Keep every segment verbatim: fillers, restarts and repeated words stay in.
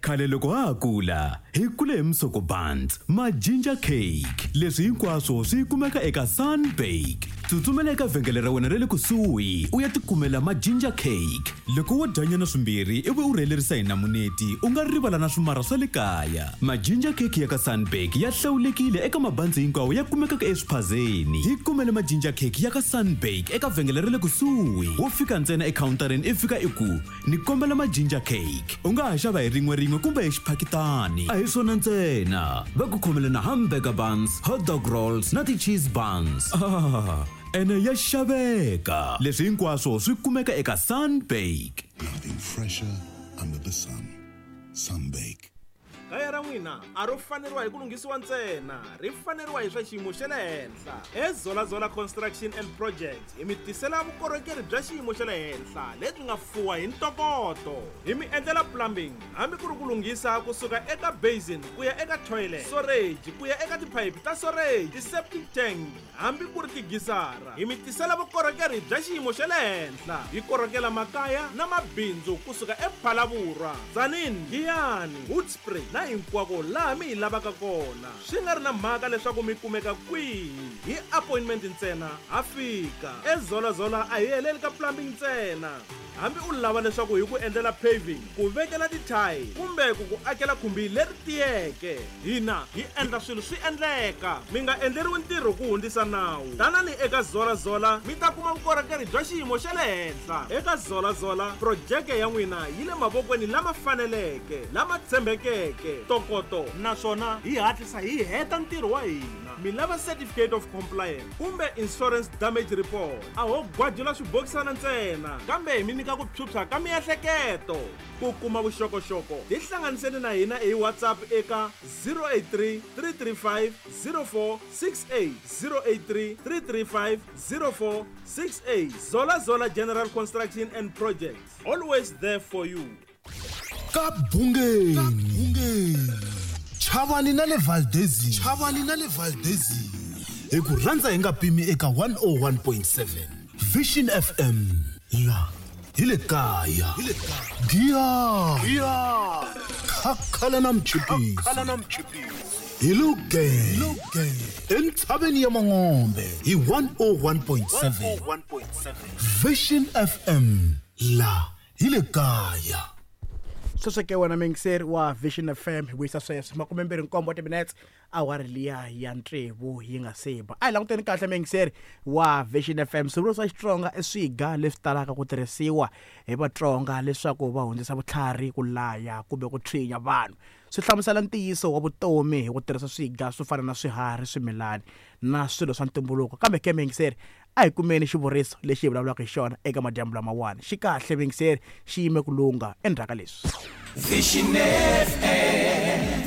Khale loko ha ha kula hi kule hi musoko buns, ma ginger cake. Leswi hinkwaswo swi kumeka eka Sunbake. Tsutsumela eka vhengele ra wena ra le kusuhi u ya tikumela ma ginger cake. Loko wo dyanyana swimbirhi ivi u rhelerisa hi namuneti u nga rivala na swimara swa le kaya. Ma ginger cake ya ka Sunbake ya hlawulekile eka mabanzi hinkwawo ya kumekaka eswiphazeni. Hi kumele ma ginger cake ya ka Sunbake eka vhengele ra le kusuhi. Wo fika ntsena ekhawuntarini i fika i ku ni kombela ma ginger cake. U nga ha xava hi rin'we rin'we kumbe hi xiphakitani. A hi swona ntsena, va ku khomele na hamburger buns, hot dog rolls na ti-cheese buns. Ah, ene ya xaveka. Leswi hinkwaswo swi kumeka eka Sunbake. Nothing fresher under the sun. Sunbake. Kaya ra n'wina a ro faneriwa hi ku lunghisiwa ntsena, ri faneriwa hi swa xiyimo xa le henhla. EZolazola Construction and Projects hi mi tisela vukorhokeri bya xiyimo xa le henhla lebyi nga fuwa hi ntokoto. Hi mi endlela plumbing hambi ku ri ku lunghisa kusuka eka basin ku ya eka toilet, storage ku ya eka tiphayiphi ta storage, ti-septic tank hambi ku ri tigisara. Hi mi tisela vukorhokeri bya xiyimo xa le henhla. Hi korhokela makaya na mabindzu kusuka ePhalaborwa, Tzaneen, Giyani, Hoedspruit na hinkwako laha mi hi lavaka kona. Swi nga ri na mhaka leswaku mi kumeka kwihi, hi appointment ntsena ha fika. EZolazola a hi heleli ka plumbing ntsena. Hambi u lava leswaku hi ku endlela paving, ku vekela ti-tile kumbe ku ku akela khumbi leri tiyeke, hina hi endla swilo swi endleka. Mi nga endleriwi ntirho ku hundzisa nawu. Tanani eka Zolazola mi ta kuma vukorhokeri bya xiyimo xa le henhla. Eka Zolazola projeke ya n'wina yi le mavokweni lama faneleke, lama tshembekeke, ntokoto, naswona hi hatlisa hi heta ntirho wa hina. Mi lava certificate of compliance kumbe insurance damage report, a ho gwajula swibokisana ntsena, kambe hi mi nyika ku phyuphya ka miehleketo. Ku kuma vuxokoxoko tihlanganiseni na hina hi WhatsApp eka zero eight three, three three five, zero four six eight, zero eight three, three three five, zero four six eight. Zolazola General Construction and Projects, always there for you. Ka Bungeni, Chavani na le Valdezini, Chavani na le Valdezini. Hi ku rhandza hi nga pimi eka one oh one point seven Vision F M. La hi le kaya. Hi le kaya. Giya. Giya. Khakhala na mchipisi. Khakhala na mchipisi. Hi luge. Luge. Entshaveni ya Mangombe hi one oh one point seven. Vision F M. La hi le kaya. Sweswo ke wena muyingiseri wa Vision F M hi vuyisa sweswo makume mbirhi nkombo timinetse awara liya ya tsevu yi nga se ba. A hi languteni kahle muyingiseri wa Vision F M. Swivuriso swa Xitsonga i swiga leswi talaka ku tirhisiwa hi Vatsonga leswaku va hundzisa vutlhari, ku laya kumbe ku tshinya vanhu. Swi hlamusela ntiyiso wa vutomi hi ku tirhisa swiga swo fana na swiharhi, swimilani na swilo swa ntumbuluko. Kambe ke muyingiseri, a hi kumeni xivuriso lexi hi vulavulaka hi xona eka madyambu lamawani. Xi kahle muyingiseri, xi yime ku lungha endzhaku ka leswi. Vision F M.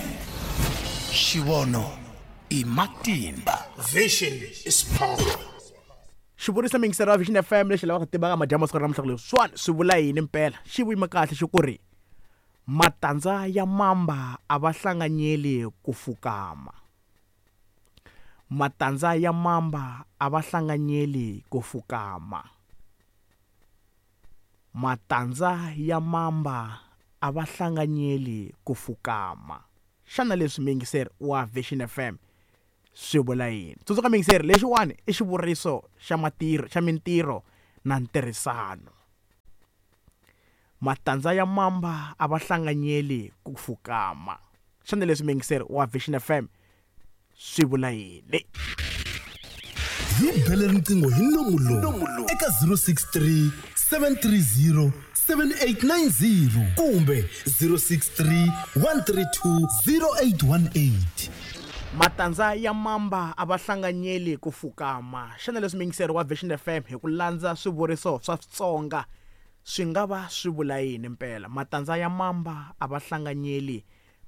Xivono i matimba. Vision is power. Xivuriso muyingiseri wa Vision F M lexi lavaka ku tiva ka madyambu siku ra namuntlha ku leswiwani swi vula yini mpela. Xi vuyima kahle xi ku ri matandza ya mamba a va hlanganyeli ku fukama. Matandza ya mamba a va hlanganyeli ku fukama. Matandza ya mamba a va hlanganyeli ku fukama. Xana leswi muyingiseri wa Vision F M swi vula yini? Tsundzuka muyingiseri, lexiwani i xivuriso xa matirho, xa mintirho na ntirhisano. Matandza ya mamba a va hlanganyeli ku fukama. Xana leswi muyingiseri wa Vision F M swi vula yini? Hi bele riqingho hi nomu lowu eka zero six three, seven three zero, seven eight nine zero kumbe zero six three, one three two, zero eight one eight. Matandza ya mamba a va hlanganyeli ku fukama. Xana leswi muyingiseri wa Vision F M hi ku landza swivuriso swa Xitsonga swi nga va swi vula yini mpela? Matandza ya mamba a va hlanganyeli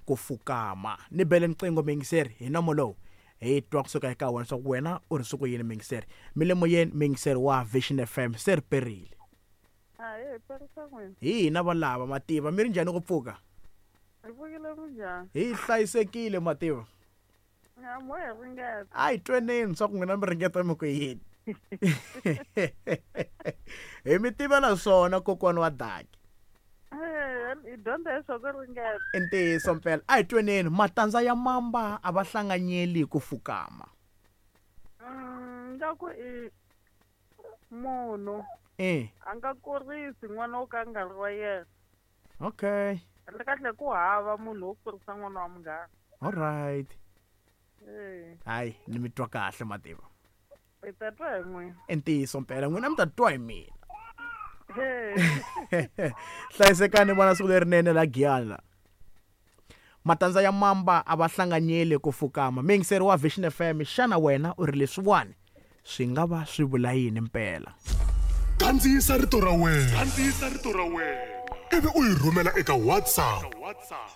ku fukama. Ni bele riqingho muyingiseri hi nomo lowu hi twa kusuka eka wena swa ku wena u ri swi ku yini muyingiseri. Mi le moyeni muyingiseri wa Vision F M, se ri perile. Ahee, perisa n'wina. Hi hina valava mativa, mi ri njhani ku pfuka? Hi pfukile minjhani? Hi hlayisekile mativa. Ya, mo hi ringeta. A hi tweneni swa ku n'wina mi ringeta mi ku yini. Hi mi tivela swona kokwana wa Daki. Eh, hi dyondza hi swa ku ringeta. I ntiyiso mpela a hi tweneni matandza ya mamba a va hlanganyeli ku fukama. Mm, nga ku i munhu Eh, a nga kurisi n'wana wo ka a nga ri wa yena. okay. Kahle kahle ku hava munhu wo kurisa n'wana wa munghana. All right. Eh, Hayi, ni mi twa kahle mativa. hi ta twa hi n'wina. I ntiyiso mpela n'wina mi ta twa hi mina. Eh, Hlayisekani vona siku lerinene la Giyani. Matandza ya mamba a va hlanganyeli ku fukama. Muyingiseri wa Vision F M, xana wena u ri leswiwani swi nga va swi vula yini mpela? Kandziyisa rito ra wena. Kandziyisa rito ra wena. Ivi u yi rhumela eka WhatsApp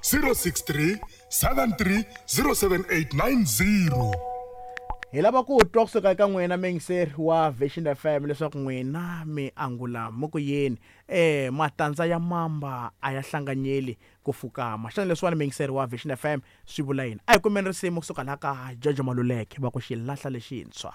zero six three seven three zero seven eight nine zero. Hi lava ku twa kusuka eka n'wina muyingiseri wa Vision F M leswaku n'wina mi angula mo ku yini. Eh, matandza ya mamba a ya hlanganyeli ku fukama. Xana leswiwani muyingiseri wa Vision F M swi vula yini? A hi kumeni risimu kusuka laha ka Jojo Maluleke va ku xilahla lexintshwa.